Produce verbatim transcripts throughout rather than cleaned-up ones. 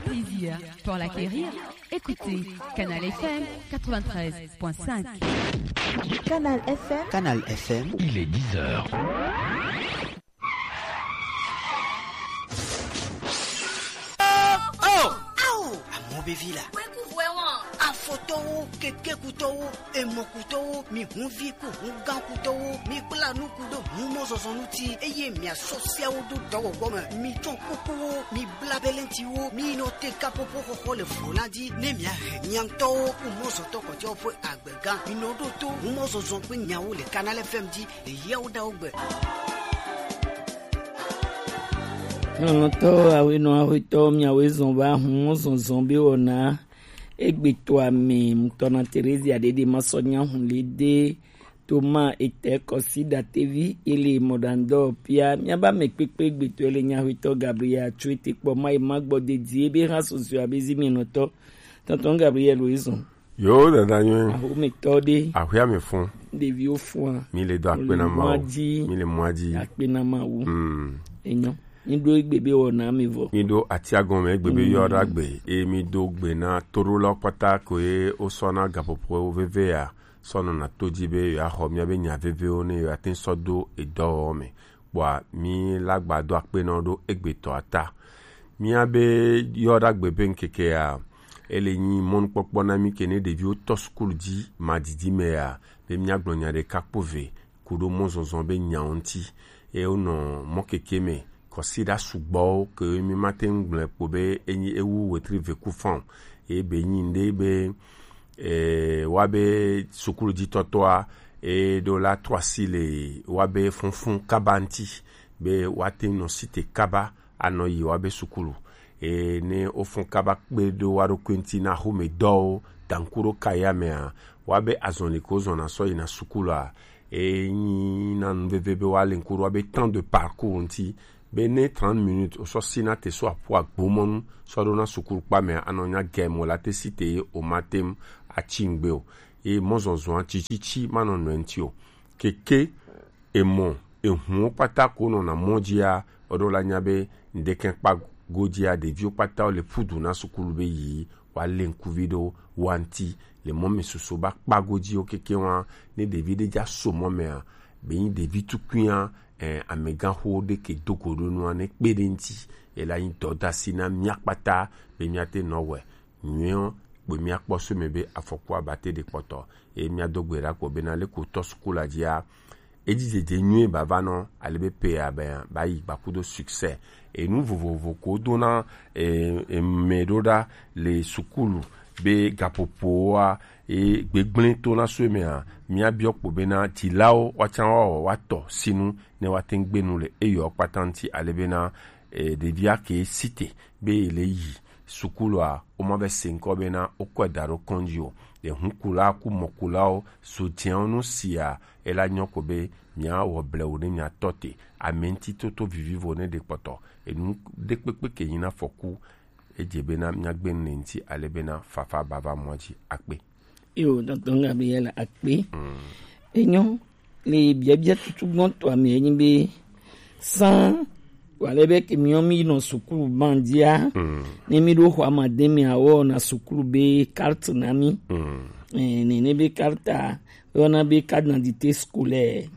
Plaisir pour l'acquérir. Écoutez Canal F M quatre-vingt-treize point cinq. Canal F M. Canal F M. Il est dix heures. Oh! Awo! Amewo be vi la. Kweku vɔe wɔn. Afɔtɔwo, kekekutɔwo, emɔkutɔwo, mi hunvi ku hungãkutɔwo, mi kpla nuku ɖo humɔzɔzɔ ŋuti, eye miasɔ siawo ɖo dɔwɔwɔ me. Mi tsɔ kukuwo, mi bla belentiwo, mi nɔ te kaƒoƒo xɔxɔ le vo la dzi, ne miahe mia ŋutɔwo ku mɔzɔtɔ kpɔtɔewo ƒe agbega. Mi nɔ ɖo to humɔzɔzɔ ƒe nyawo le Canal F M dzi. Eyawo ɖawo gbe. Lɔlɔ̃tɔwo, awoenɔ awoetɔwo, miawoe zɔn va humɔzɔzɔ be wɔna egbetɔa me ŋutɔ na Terezia ɖeɖe masɔ nya hu le de Toma etɛ kɔsi ɖatevi ele mɔɖaŋdɔ pia miaba me kpekpe egbetɔ ele nyahoetɔ Gabriel tso ete kpɔ ma ema gbɔ dedie be ha sɔsɔe abe zi mienɔtɔ. Tɔntɔn Gabriel wo ezɔn. Yo, dada nyuie. Ahometɔ ɖe. Aƒea me fun. Ɖeviwo fua. Mi le do akpe na Mawu. Mɔa dzi. Mi le mɔa dzi. Akpe na Mawu. Mm. Enyo. Mi ɖo egbe be wɔna mi vɔ. Mi ɖo atia gɔme egbe be yɔ ɖa gbe. E mi do gbe na toɖo lɔ kpata ko ye o sɔ na gapopo veve ya. Sɔ nɔ na to dzi be ya xɔ mia be nya vevewo ne ya tin sɔ do edɔwɔwɔ me. Kpɔa mi la gba do akpe na wo ɖo egbetɔa ta. Mía be yɔ ɖagbe be ŋkekea, ele nyi mɔnukpɔkpɔ na mí ke ne ɖeviwo tɔ sukulu dzi madidi mea, be míagblɔ nya ɖeka kpo ve ku ɖo mɔzɔzɔ be nyawo ŋuti. Eye wonɔ mɔkeke me, kɔsiɖa sugbɔwo ke mí mate ŋu gblɔe kpo be enyi ewu wetri ve ku fã o. Eye be nyi ŋɖe be, e, wa be sukulujitɔtɔa, e ɖo la trɔ asi le wa be fɔnfɔn kaba ŋuti, be woate ŋu nɔ site kaba anɔ yi wa be sukulu. E, ne wofɔn kaba kpe ɖo wa ɖokui ŋuti na xomedɔwo, danku ɖo kaya mea, wa be azɔli ko zɔna sɔ yina sukulua, e nyi na nu veve be wa le ŋku ɖo wa be temps de parcours ŋuti, be ne trente minutes wosɔ si na te so aƒu agbomɔnu sɔ ɖo na sukulu kpa mea, anɔ nya gɛ mo la te si te ye o ma tem atsi ŋgbe o. Ye mɔzɔzɔa tsitsitsi manɔ nɔe ŋuti o. Keke, emɔ, ehuwo kpata ko nɔna mɔ dzia, eɖo la nya be ŋdekɛ kpa godzia, ɖeviwo kpata wo le ƒu du na sukulu be yi wa le ŋkuvi ɖo wa ŋuti le mɔ me susu ba kpa godziwo keke wa, ne ɖevi ɖe dza so mɔ mea, be nyi ɖevi tukuia, eh, amegãxo ɖe ke do go ɖo nua ne kpe ɖe ŋuti, ela nyi dɔdasi na mía kpata be míate nɔ wɛ nyuiɔ kpo míakpɔ so me be afɔku abate ɖe kpɔtɔ. Eye míado gbe ɖa kpɔ bena leke wotɔ sukulu la dzia, edzidzedze nyuie bava nɔ ale be pe abe ba yi gbakudo succès. Enu vovovo ko dona, e, e, me ɖo ɖa le sukulu be gapopoa, e, gbegblẽ to na so mea, míabiɔ kpo bena dzilawo woatsã woawɔ woatɔ sinu ne woate ŋu gbe nu le eyɔ kpata ŋuti ale bena, e, ɖevia ke site be ele yi sukulua, womave se ŋkɔ bena wokɔe da ɖo kɔndzi o. Ɖe hukula ku mɔkulawo so dzeawo nu sia, ela nyɔ ko be miawɔ blewu ne miatɔ te. Ame ŋuti toto vivivo ne ɖe kpɔtɔ. Enu ɖe kpekpe ke nyi na fɔku, edze bena miagbe nu le ŋuti ale bena fafa bava mɔa dzi akpe. Yo, tɔntɔn Gabriel akpe. Mm. Enyo, le biabia tutu gbɔntɔa me enyi be san wale be ke miɔ mi nɔ sukulu bandia. Mm. Ne mi ɖo xɔ amade mi awɔ na sukulu be carte na mi. Mm. Eh, ne ne be carte a, wɔna be carte d'identité scolaire.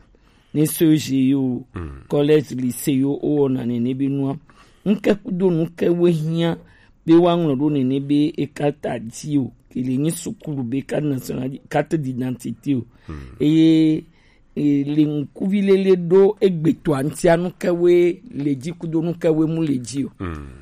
Ne C E G yo, mm, collège, lycée yo, o wɔna ne ne be nua. Ŋke kudo nu ke we hiã be woaŋlɔ ɖo nene be e carte dzi o, ke le nyi sukulu be carte nationale, carte d'identité o. Hmm. Eye, e, le ŋkuvi lele ɖo egbetɔa ŋutia nu ke we le dzi kudo nu ke we mu le dzi o. Hmm.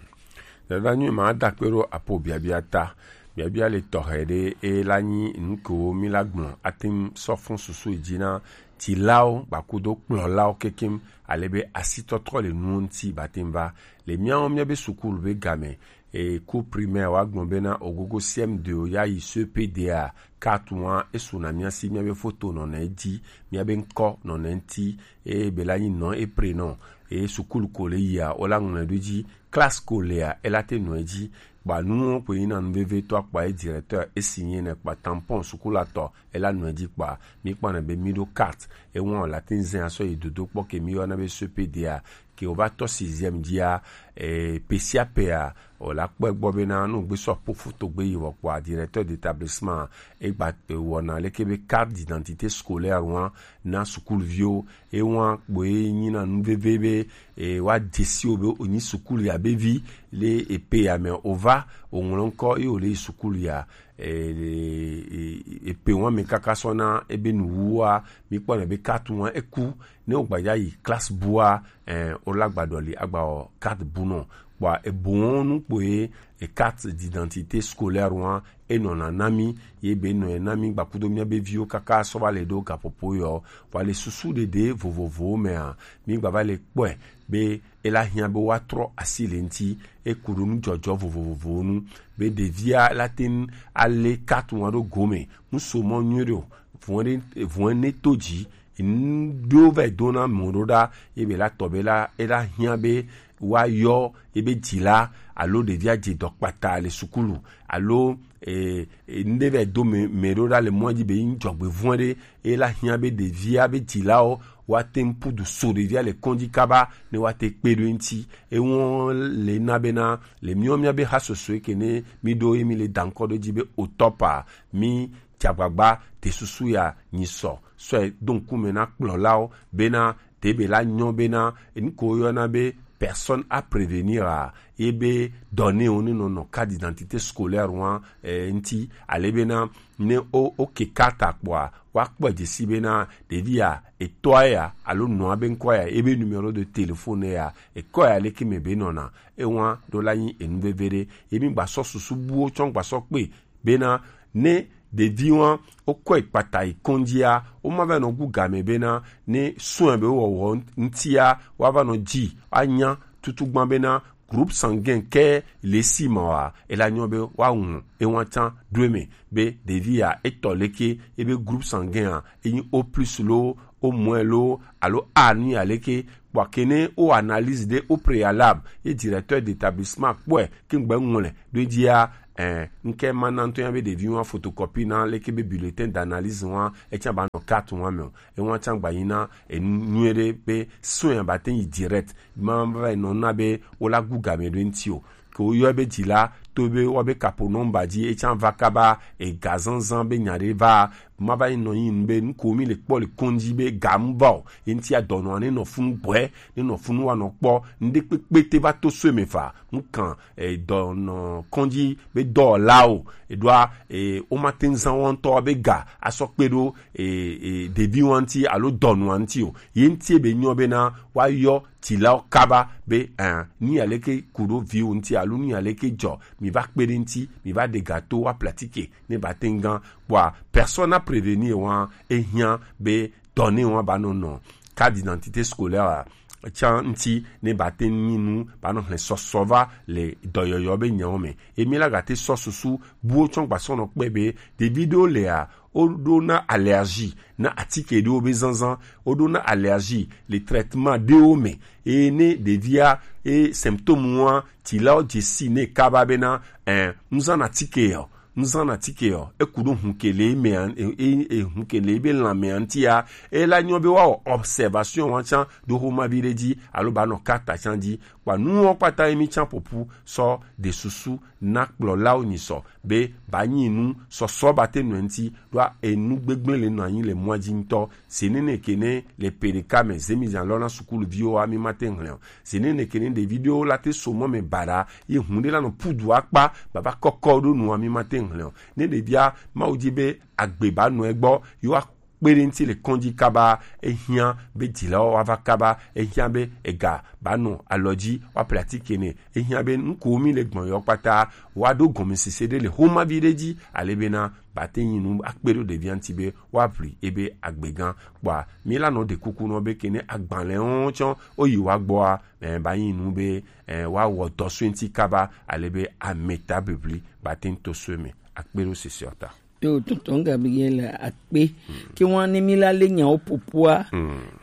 Dada nyui ma da kpe ɖo apo biabia ta. Biabia le tɔxɛ ɖe e la nyi nu kewo mi la gblɔ ate ŋu sɔ fun susu yi dzi na dzilawo gbakudo kplɔlawo kekem ale be asitɔtrɔ le nuwo ŋuti bate ŋu va le míawo míabe sukulu be game. E, ku primaire wa gblɔ bena ogogo C M deux ya yi C P D a, carte wa esu na mía si, míabe foto nɔna edzi, míabe ŋkɔ nɔna eŋuti, eye be la nyi non et prénom, eye sukulu ko le yia, wo la ŋlɔe ɖo edzi, classe ko lea, ela te nɔ edzi, kpa nuwo ko yina nu veve tɔ akpa ye directeur esi nye ne kpa tampon sukulu atɔ, ela nɔ edzi kpa, mi kpɔna be mi ɖo carte, ewa la te ŋu zɛ asɔ yi dodo kpɔ ke mi yɔna be C P D a, ke wova tɔ sixième dzia, e, pe sia pea, o la kpɔe gbɔ bena nu gbe sɔ po foto gbe yi wɔ kpɔa, directeur d'établissement e gba, e, wɔna leke be carte d'identité scolaire wa na sukulu viwo. E wa kpo e nyi na nu veve be, e, wa dzesi o be o nyi sukulu ya be vi le e pe ya me o va o ŋlɔ ŋkɔ e o le yi sukulu ya. E, e, e, e pe wa me kaka sɔ na e be nu wu wa mi kpɔ na be carte wa e ku ne o gba ya yi classe bu wa, e, o la gba dɔ li agba o carte bu nɔ. Kpɔa ebɔn nu kpo ye e carte d'identité scolaire wa e nɔna na mi, ye be nɔ ye na mi gbakudo mia be viwo kaka sɔ va le do gapopo yɔ, wa le susu ɖeɖe vovovowo mea, mi gba va le kpɔe be e la hiã be wa trɔ asi le ŋti, e ku ɖo nu jɔjɔ vovovowo nu, be ɖevia la te ŋu ale carte wa ɖo gome, nu so mɔ nyuie ɖe o, vɔn ɖe, vɔn ne to dzi, nu ɖewo va yi dona mɔ ɖo ɖa, ye be la tɔ be la, e la hiã be wa yɔ ye be dzila alo ɖevia dze dɔ kpata le sukulu alo, e, e, nu ɖe va yi do mɛ, mɛ ɖo ɖa le mɔ dzi be yin dzɔgbevɔn ɖe, e la hiã be ɖevia be dzilawo wa te ŋu pu du so ɖevia le kɔndzi kaba ne wa te kpe ɖo eŋti. Ewɔn le na bena le miɔ mia be ha soso ke ne mi ɖo ye mi le da ŋkɔ ɖo dzi be o tɔpa mi dze agbagba te susu ya nyi sɔ sɔe do ŋkume na kplɔlawo bena te be la nyɔ bena enu ko woyɔna be personne à prévenir a, ye be dɔ ne wo ne nɔ nɔ carte d'identité scolaire wa, e, ŋti, ale bena ne o, o ke carte kpɔa, wa kpɔ dzesi bena ɖevi ya, etɔa ya, alo nɔa be ŋkɔ ya, ebe numéro de téléphone ya, ekɔ ya leke me be nɔna, ewa ɖo la nyi enu veve ɖe, emi gba sɔ susu buwo tsɔ gba sɔ kpe, bena ne ɖevi wa wokɔe kpata yi kɔndzia, woma va nɔ gu game bena ne sɔe be wɔwɔ ŋtia, wa va nɔ dzi anya tutugban bena groupe sanguin ke le si ma wa, e la nyɔ be wa ŋu ewa tsan ɖo eme be ɖevi ya etɔ leke ebe groupe sanguin a, enyi O plus lo, O moins lo, alo A nu ya leke, kpɔ ke ne o analyse ɖe au préalable, ye directeur d'établissement kpɔe ke ŋgbe ŋlɔe ɖo edzia, eh, ŋke ma na ŋutɔ ya be ɖevi wa photocopie na leke be bulletin d'analyse wa, etsa ba nɔ carte wa me o. Ewa tsa gba yi na enu nyuie ɖe be soin ya ba te yi direct, ma va yi nɔ na be wo la gu game ɖo ŋti o. Ke wo yɔ be dzi la, to be wa be kapo nɔmba dzi, etsa va kaba ega zanzan be nya ɖe va, ma va yi nɔ yi nu be nu ko mi le kpɔ le kɔndzi be ga mu va o, ye ŋtia dɔnɔa ne nɔ funu gbɔe, ne nɔ funu wa nɔ kpɔ, nu ɖe kpekpe te va to soe me fa, nu kan, e, dɔnɔ kɔndzi be dɔwɔlawo, e ɖoa, e, wo ma te ŋu zan wo ŋutɔ be ga asɔ kpe ɖo, e, e, ɖevi wa ŋti alo dɔnɔa ŋti o. Ye ŋtie be nyɔ bena wa yɔ tilawo kaba be, eh, nu ya leke ku ɖo viwo ŋti alo nu ya leke dzɔ, mi va kpe ɖe ŋti, mi va ɖe ga to wa pratique ne ba te ŋu gan. Kpɔa personne à prévenir wa, e hiã be dɔ ne wa ba nɔ nɔ carte d'identité scolaire a tsa ŋti ne ba te ŋu nyi nu ba nɔ hlẽ sɔsɔ va le dɔyɔyɔ be nyawo me. Emi la ga te sɔ susu buwo tsɔ gba sɔ nɔ kpe be ɖevi ɖewo lea, wo ɖo na allergie na atike ɖewo be zanzan, wo ɖo na allergie le traitement ɖewo me. Eye ne ɖevia e symptôme wa tilawo dze si ne kaba bena, eh, ŋzan na atike yɔ, ŋzan na atike yɔ, eku ɖo hun ke le me an, e, e, e hun ke le be lan me antia, e la nyɔ be wa wɔ observation wa tsa ɖo xoma vi ɖe dzi alo ba nɔ kata tsa dzi. Kpɔa nuwo kpata ye mi tsa ƒoƒu sɔ ɖe susu na kplɔlawo nyi sɔ be ba nyi nu sɔsɔ ba te nɔ ŋti ɖoa enu gbegblẽ le nɔ anyi le mɔa dzi ŋutɔ. Zenene ke ne le pe ɖeka me zemi zan lɔ na sukulu viwo wa mi ma te hlẽ o. Zenene ke ne ɖevi ɖewo la te so mɔ me baɖa ye hun ɖe la nɔ pudu akpa baba kɔkɔ ɖo nua mi ma te hlẽ o. Ne ɖevia Mawu dzi be agbe ba nɔ egbɔ yewo kpe ɖe ŋti le kɔndzi kaba, ehiã be dzilawo wa va kaba, ehiã be ega ba nɔ alɔ dzi wa pratique ne, ehiã be nu ko mi le gbɔn yɔ kpata wa ɖo gɔmesese ɖe le xoma vi ɖe dzi, ale bena ba te nyi nu akpe ɖo ɖevia ŋti be wa ʋli ebe agbe gã. Kpɔa mi la nɔ ɖe kuku nɔ be ke ne agbalẽ wo tsɔ wo yi wa gbɔa, eh, ba nyi nu be, eh, wa wɔ dɔ soe ŋti kaba, ale be ameta bibli ba te ŋu to soe me. Akpe ɖo sese ɔ ta. Yo, tonton Gabriel, akpe. Ke wan ne mi la le nyawo popua.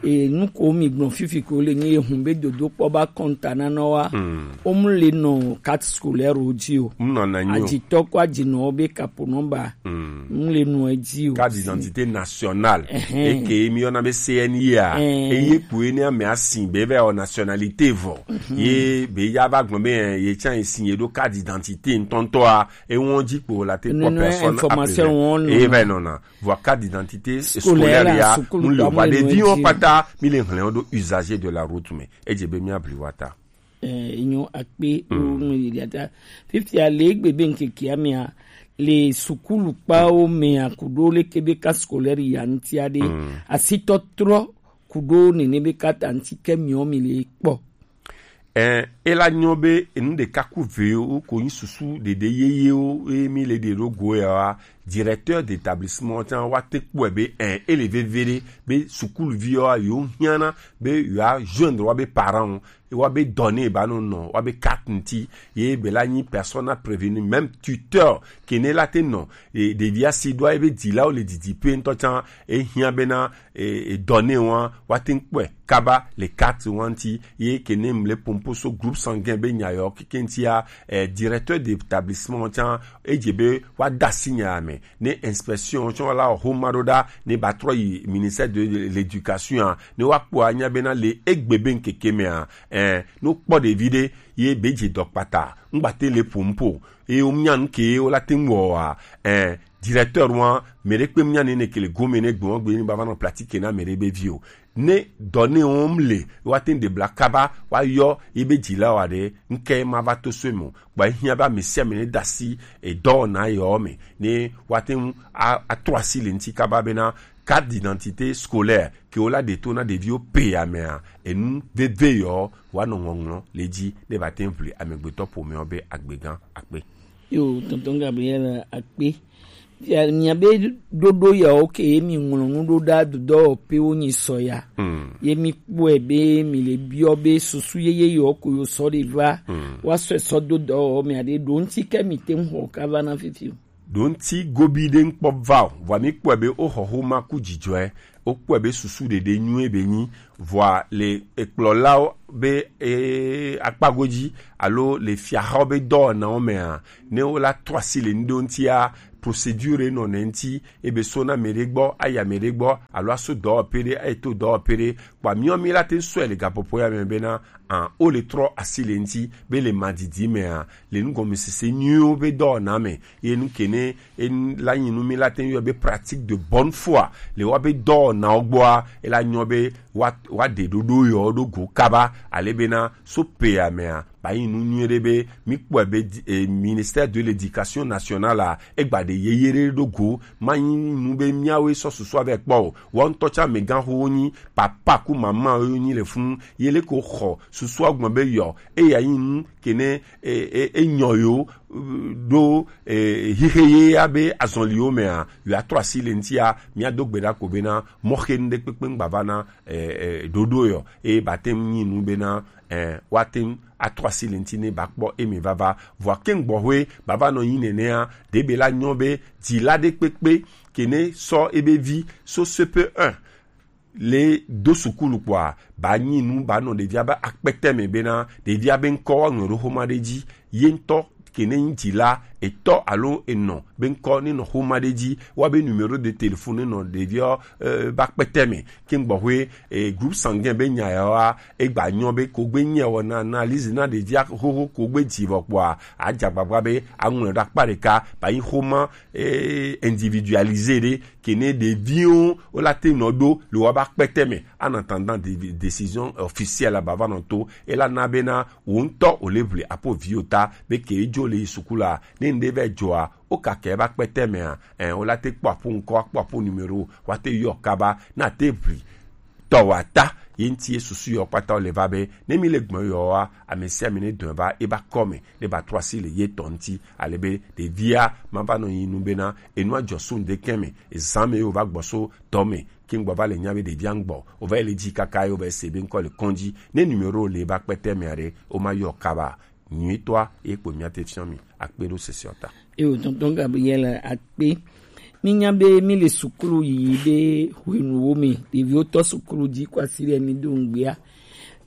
E, nu ko mi gbɔn fifi ko le nyi ehun be dodo kpɔ ba kɔnta na nɔ wa. O mu le nɔ carte scolaire o ji o. Mu nɔ na nyi o. Ajitɔ ko ajinɔ be kapo nɔmba. Mu le nɔ e ji o. Carte d'identité nationale. Eke mi yɔna be C N I a. Eye kpo ye ne ame asin be vɛ o nationalité vɔ. Ye be ya va gbɔn be ye tsan ye sin ye do carte d'identité ntɔntɔ a. Ewɔn ji kpo la te kpɔ personne information appelée. Eye va nɔna. Vɔ carte d'identité scolaire ya, mu le va ɖeviwo kpata, mi le hlɛn do usager de la route me. Edze be mi abli wa ta. Eh, enyo akpe o mu yi ta. Fifia le egbe be ŋkeke amea, le sukulu kpawo mea kudo le kebe ka scolaire ya ŋtia de. Asitɔ trɔ kudo nene be kata ŋti ke miɔ mi le kpɔ. Ɛn, ela nyɔ be enu ɖeka ku vewo ko nyi susu ɖeɖe yeyewo ye mi le ɖe ɖo go ya wa. Directeur d'établissement tsan wa te kpɔe be ɛn, ele veve ɖe be sukuluvi wa yo hiana be yo a joindre wa be parent wo, wa be données ba no nɔ wa be carte ŋti ye be la nyi personne à prévenir, même tuteur ke ne la te nɔ e, ɖevi asi ɖo ebe dzilawo le didi pe ŋutɔ tsan ehia bena e, e, données wa wa te ŋkpɔe kaba le carte wa ŋti ye ke ne mle pompo so groupe sanguin be nya yɔ keke ŋtia e, directeur d'établissement tsan edze be wa da asi nya me ne inspection tsan la xo ma ɖo ɖa ne ba trɔ yi ministère de l'éducation a ne wa kpɔ anya bena le egbe be ŋkeke mea e, no kpɔ ɖevi ɖe ye be dze dɔ kpata ŋgba te le pompo eye wo mia nu ke wo la te ŋu wɔ wa eh, directeur wa mɛ ɖe kpe mia ne ne ke le gome ne gbɔn gbe ni ba va nɔ pratique na mɛ ɖe be vi o ne dɔ ne wo mle wa te de bla kaba wa yɔ ye be dzi la wa ɖe ŋke ma va to so mo gba hia ba mɛ sia mɛ ne dasi e dɔ na yɔ me ne wa te ŋu a, a trɔ asi le ŋti kaba bena carte d'identité scolaire ke wo la ɖe to na ɖeviwo pe amea enu veve yɔ wa nɔ ŋɔŋlɔ le dzi ne ba te ŋu ʋli amegbetɔ ƒomeawo be agbegã akpe. Yo, tonton Gabriel akpe. Ya mia be ɖoɖo yawo ke ye mi ŋlɔ nu ɖo ɖa dudɔ pe wo nyi sɔ ya. Ye mi kpɔe be mi le biɔ be susu yeye yɔ ko yo sɔ ɖe va. Wa sɔ sɔ do dɔ mi aɖe ɖo ŋti ke mi te ŋu xɔ ka va na fifi o. Ɖo ŋti gobi ɖe ŋkpɔ va o, vɔa mi kpɔe be wo xɔ xoma ku dzidzɔe, wo kpɔe be susu ɖeɖe nyuie be nyi, vɔa le ekplɔlawo be e, akpago dzi alo le fiaxawo be dɔwɔnawo mea, ne wo la trɔ asi le nu ɖewo ŋtia, procédure nɔ ne ŋti, ebe so na mɛ ɖe gbɔ, ayi amɛ ɖe gbɔ, alo aso dɔwɔƒe ɖe, ayi to dɔwɔƒe ɖe, kpɔ miɔ mi la te sɔe le gaƒoƒo ya me bena, an, wo le trɔ asi le ŋti, be le madidi mea, le nugɔmesese nyuiwo be dɔwɔna me ye nu ke ne en la nyi nu mi la te yɔ be pratique de bonne foi le wa be dɔwɔnawo gbɔa ela nyɔ be wa wa de ɖoɖo yɔ ɖo go kaba ale bena so pea mea ba yi nu nyuie ɖe be mi kpɔe be eh, ministère de l'éducation nationale a egba ɖe yeye ɖe ɖo go ma yi nu be miawoe sɔ susua vɛ kpɔ o wɔ ŋutɔ tsa mɛ gã xowo nyi papa ku mama wo nyi le funu ye le ko xɔ susua gbɔn be yɔ eya yi nu ke ne e, e, e nyɔ yo ɖo e, xixe ye ya be azɔliwo mea yo atrɔ asi le ŋtia mia do gbe ɖa ko bena mɔxe nu ɖe kpekpe ŋgba va na e, e, ɖoɖo yɔ eye ba te ŋu nyi nu bena e, wa te ŋu atrɔ asi le ŋti ne ba kpɔ eme vava vɔa ke ŋgbɔxoe ba va nɔ nyi nenea ɖe be la nyɔ be dzila ɖe kpekpe ke ne sɔ ebe vi so C P un le do sukulu kpɔa ba nyi nu ba nɔ ɖevia be akpɛtɛ me bena ɖevia be ŋkɔ wa ŋlɔ ɖo xoma ɖe dzi ye ŋutɔ ke ne ŋdzi la etɔ alo enɔ be ŋkɔ ne nɔ xoma ɖe dzi wa be numéro de téléphone ne nɔ ɖevia eh, be akpɛtɛ me ke ŋgbɔxoe eh, groupe sanguin be nya ya wa egba nyɔ be kogbe nyɛ wɔ na analyse na ɖevia xoxo kogbe dzi vɔ kpɔa adza gbagba be aŋlɔ ɖe akpa ɖeka ba nyi xoma eh, individualisé ɖe ke ne ɖeviwo wo la te nɔ ɖo le woƒe akpɛtɛ me ana tanda de- décision officielle ba va nɔ to ela na bena wo ŋutɔ wo le ʋli apo viwo ta be ke dzo le yi suku la ne ŋɖe vɛ dzoa wo ka ke ebe akpɛtɛ mea ɛ wo la te kpɔ apo ŋkɔ kpɔ apo numéro wa te yɔ kaba na te ʋli tɔ wa ta ye ŋti ye susu yɔ kpata wo le va be ne mi le gbɔn yɔ wa ame sia ame ne dɔn va eba kɔ me ne ba trɔ asi le ye tɔ ŋti ale be ɖevia ma va nɔ yi nu bena enua dzɔ so ŋdekɛ me ezan me ye wo va gbɔ so tɔ me ke ŋgbɔ va le nya be ɖevia ŋgbɔ wo va yi le dzi kaka ye wo va yi se be ŋkɔ le kɔndzi ne numéro le ba kpɛtɛ me aɖe wo ma yɔ kaba nyuitɔa ye kpo mia te fiɔ mi akpe ɖo sese ɔ ta. Eyo tonton Gabriel akpe Mínya be míle suklu yiyi ɖe hwenuwo me. Ɖeviwo tɔ suklu ji kwasi ɖe mí do ŋgbea.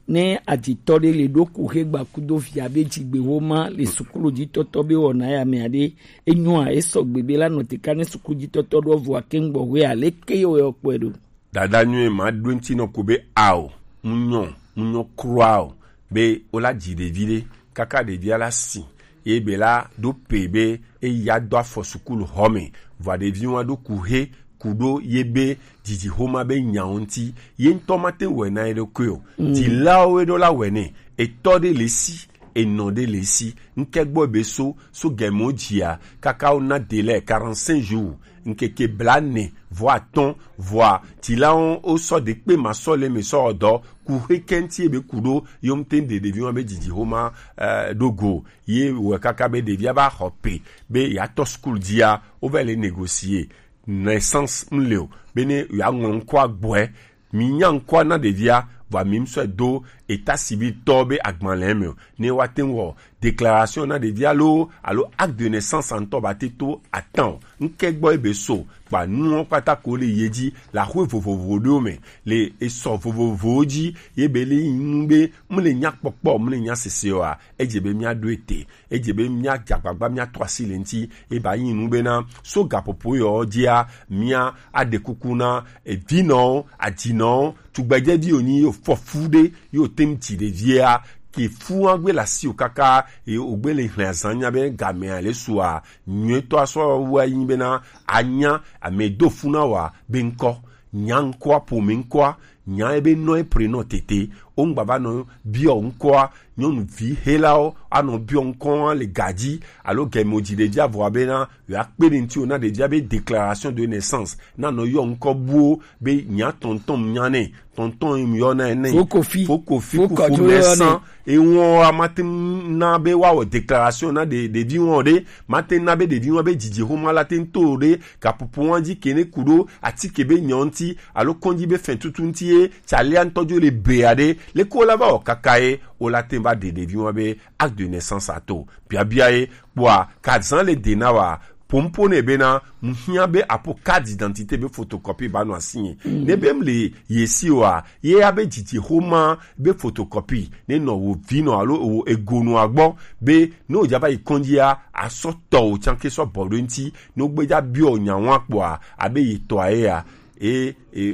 Ne ajitɔ ɖe le ɖo kuxe gba kudo via be jigbexoma le suklu ji tɔtɔ be wɔna ya mea ɖe, enyoa, esɔgbe be la nɔ te ka ne suklu ji tɔtɔ ɖo vɔa ke ŋgbɔ hwe a, leke ye wɔ kpɔe ɖo? Dada nyuie ma ɖo ŋuti nɔ ko be ao, mu nyɔ, mu nyɔ kura o, be wola dzi ɖevi ɖe, kaka ɖevia la si, ye be la ɖo pe be eya do afɔ sukulu xɔ me, vɔa ɖevi wa ɖo ku he, ku ɖo ye be dzidzi xoma be nyawo ŋuti, ye ŋutɔ ma te wɔe na ye ɖokui o. Mm. Dzilawo ye ɖo la wɔe nɛ, etɔ ɖe le si, enɔ ɖe le si, ŋkɛ gbɔ be so, so gɛmɛ wo dzia, kaka wo na délai quarante-cinq jours, ŋkeke bla ne, vɔ atɔn, vɔa, dzilawo wo sɔ de kpe ma sɔ le me sɔ dɔ, ku he kɛnti be ku ɖo, yom te de ɖevi wa be dzidzi xoma, eh, ɖo go, ye wɔ kaka be ɖevia ba xɔ pe, be ya tɔ school dzia, wo va le négocier, naissance mle o, be ne ya ŋlɔ ŋkɔ agbɔɛ, mi nya ŋkɔa na ɖevia, vɔa mi ŋsɔe do état civil tɔ be agbalẽ me o. Ne wa te wɔ déclaration na ɖevia lo, alo acte de naissance ŋutɔ ba te to atan o. Ŋkɛ gbɔ ebe so, kpa nuwo kpata ko le ye dzi, le axwe vovovo ɖewo me, le esɔ vovovowo dzi, ye be le yi nu be, mle nya kpɔkpɔ, mle nya sese oa, edze be mia ɖo ete. Edze be mia dze agbagba mia tɔ asi le ŋuti. Eba yi nu bena, so gaƒoƒo yɔ dzia, mia aɖe kuku na, evinɔwo, adzinɔwo, tugbedzevi wonyi yo fɔfu ɖe, yo te ŋu dzi ɖevia, ke fu wa gbe le asi o kaka, e, o gbe le hlẽ azan nya be gamea le sua, nyuitɔ asɔ wa yi bena, anya, ame do fu na wa, be ŋkɔ, nya ŋkɔa, ƒome ŋkɔa, nya ebe nɔ e prénom tete, wo ŋgba va nɔ biɔ ŋkɔa, nyɔnuvi helawo anɔ biɔ ŋkɔa le gadzi, alo gɛmɛ wo dzi ɖevia vɔa bena, ya kpe ɖe ŋuti wo na ɖevia be déclaration de naissance, na nɔ yɔ ŋkɔ buwo be nya tɔntɔn nya nɛ, tɔntɔn yi yɔ na nɛ. Fokofi. Fokofi, fo kɔdzo yɔ nɛ. San, ewɔn wa ma te na be wa wɔ déclaration na ɖe, ɖevi wɔn ɖe, ma te na be ɖevi wɔn be dzidzi xoma la te to ɖe, gaƒoƒo wa dzi ke ne ku ɖo, atike be nyɔ ŋuti, alo kɔndzi be fɛn tutu ŋuti ye, tsalia ŋutɔ dzo le bea ɖe, leke wo la va wɔ kaka ye, wo la te va ɖe ɖevi wɔn be acte de naissance ato. Biabia ye, kpɔa, ka zan le de na wa, pompo ne bena, mu hiã be apo carte d'identité be photocopie ba nɔ asi nye. Mm. Ne be mle ye si wa, ye ya be dzidzi xoma be photocopie, ne nɔ wo vi nɔ alo wo ego nɔ agbɔ, be ne wo dza va yi kɔndzi ya, asɔ tɔ wo tsanke sɔ bɔ ɖo ŋuti, ne wo gbe dza biɔ nya wa kpɔa, abe yi tɔ ye ya, e, e,